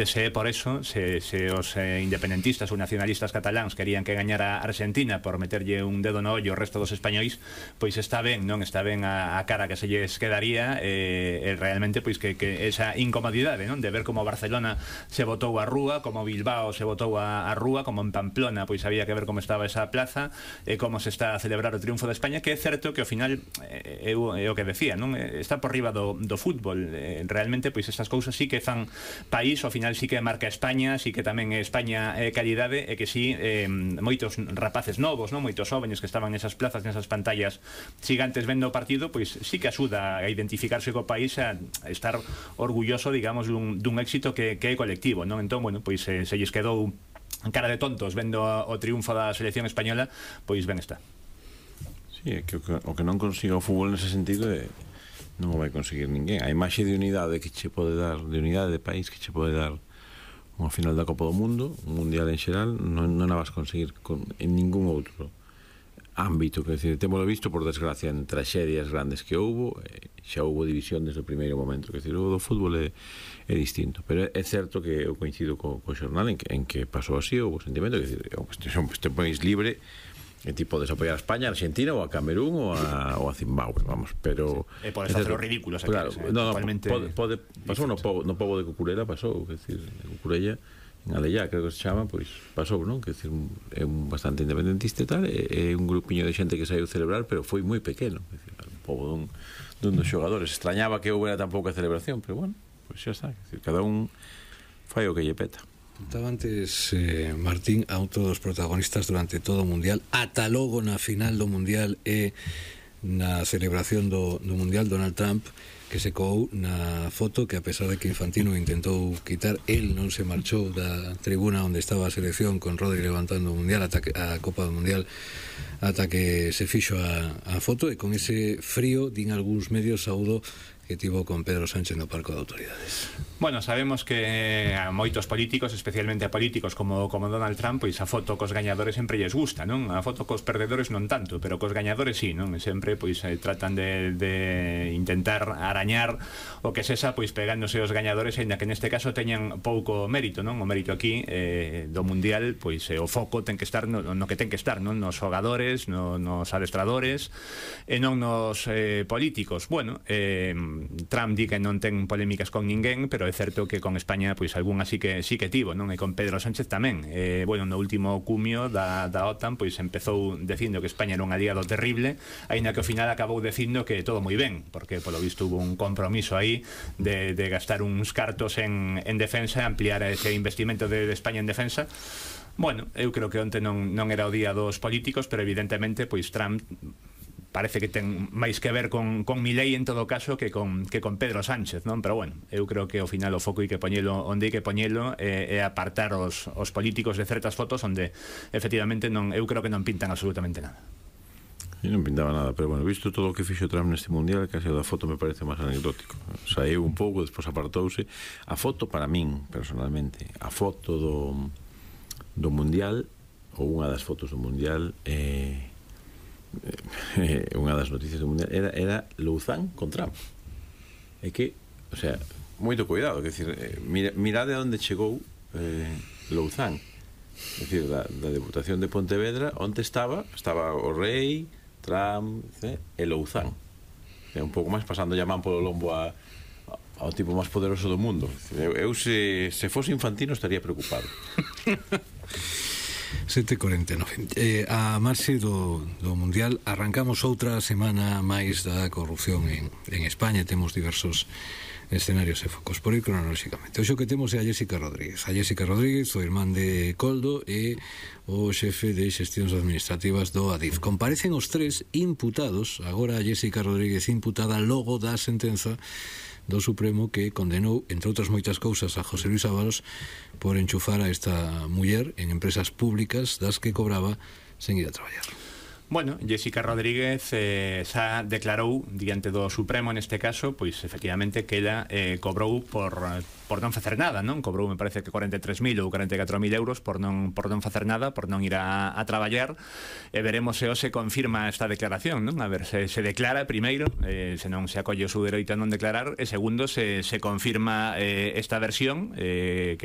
Se por eso, se os independentistas ou nacionalistas cataláns querían que gañara Argentina por meterlle un dedo no ollo ao resto dos españois, pois está ben, non? Está ben a cara que se lles quedaría, realmente pois que esa incomodidade, non? De ver como Barcelona se botou a rúa, como Bilbao se botou a rúa, como en Pamplona pois había que ver como estaba esa plaza, como se está a celebrar o triunfo de España, que é certo que ao final é o que decía, non? Está por riba do fútbol, realmente pois estas cousas sí que fan país, ao final sí que marca España, sí que tamén España calidade, e que sí moitos rapaces novos, non? Moitos jóvenes que estaban nesas plazas, nesas pantallas gigantes vendo o partido, pois sí que axuda a identificarse co país, a estar orgulloso, digamos, dun éxito que é colectivo, non? Entón, bueno, pois se lles quedou cara de tontos vendo o triunfo da selección española, pois ben está. Sí, é que o que non consiga o fútbol nese sentido non o vai conseguir ninguén. A imaxe de unidade que che pode dar, de unidade de país que che pode dar unha final da Copa do Mundo, un mundial en xeral, non a vas conseguir en ningún outro ámbito. Que decir, temos visto, por desgracia, en traxedias grandes que houbo, xa houbo división desde o primeiro momento. Que decir, o do fútbol é distinto, pero é certo que eu coincido co xornal en que pasou así, houbo sentimento, que decir, este país libre, e ti podes apoiar a España, a Argentina ou a Camerún ou a Zimbabue, vamos, pero sí. E podes facer os ridículos aquí, claro, pasou no pobo de Cucurella, pasou, que decir, de Cucurella en Alellá, creo que se chama, pois pasou, non? Que decir, é un bastante independentista e tal, é un grupiño de xente que saiu celebrar, pero foi moi pequeno, que decir, un pobo dun dos xogadores. Extrañaba que houbera tan pouca celebración, pero bueno, pois xa está, que decir, cada un fai o que lle peta. Estaba antes, Martín, a outro dos protagonistas durante todo o Mundial, ata logo na final do Mundial e na celebración do Mundial, Donald Trump, que se coou na foto que, a pesar de que Infantino intentou quitar, el non se marchou da tribuna onde estaba a selección con Rodri levantando o Mundial, a Copa do Mundial, ata que se fixo a foto, e con ese frío, din algúns medios, saúdo que tivo con Pedro Sánchez no Parco de Autoridades. Bueno, sabemos que a moitos políticos, especialmente a políticos como Donald Trump, pois a foto cos gañadores sempre lles gusta, non? A foto cos perdedores non tanto, pero cos gañadores sí, non? Sempre pois tratan de intentar arañar o que sexa, pois pegándose os gañadores, aínda que neste caso teñan pouco mérito, non? O mérito aquí do Mundial, pois o foco ten que estar no que ten que estar, non? Nos xogadores, nos adestradores e non nos políticos. Bueno, Trump di que non ten polémicas con ninguén, pero é certo que con España pois algunha sí que tivo, non? E con Pedro Sánchez tamén. Bueno, no último cumio da OTAN pois empezou dicindo que España era un aliado terrible, aínda que ao final acabou dicindo que todo moi ben, porque polo visto hubo un compromiso aí de gastar uns cartos en defensa, ampliar ese investimento de España en defensa. Bueno, eu creo que onte non era o día dos políticos, pero evidentemente pois Trump parece que ten máis que ver con Milei en todo caso que con Pedro Sánchez, non? Pero bueno, eu creo que ao final o foco hai que poñelo onde hai que poñelo, é apartar os políticos de certas fotos onde efectivamente eu creo que non pintan absolutamente nada. E non pintaba nada, pero bueno, visto todo o que fixo Trump neste Mundial, case o da foto me parece máis anecdótico. Saiu un pouco, despois apartouse. A foto, para min, personalmente, a foto do Mundial, ou unha das fotos do Mundial, unha das noticias do Mundial era Louzán con Trump. É que, o sea, moito cuidado, que decir, mirade a onde chegou Louzán, é dicir, da Deputación de Pontevedra, onde estaba o rei, Trump e Louzán, é un pouco máis pasando a man polo lombo ao tipo máis poderoso do mundo. Eu se fose Infantino estaría preocupado. 7:49. A marxe do Mundial arrancamos outra semana máis da corrupción en España. Temos diversos escenarios e focos por ir cronolóxicamente. Hoxe o que temos é a Jéssica Rodríguez, o irmán de Coldo e o xefe de xestións administrativas do Adif. Comparecen os tres imputados, agora a Jéssica Rodríguez imputada logo da sentenza do Supremo que condenou, entre outras moitas cousas, a José Luis Ábalos por enchufar a esta muller en empresas públicas das que cobraba sen ir a traballar. Bueno, Jéssica Rodríguez xa declarou diante do Supremo neste caso, pois efectivamente que ela cobrou por non facer nada, non? Cobrou, me parece que 43.000 ou 44.000 euros por non facer nada, por non ir a traballar, e veremos se hoxe confirma esta declaración, non? A ver se declara primeiro, se non se acolle o seu dereito a non declarar, e segundo se confirma esta versión, que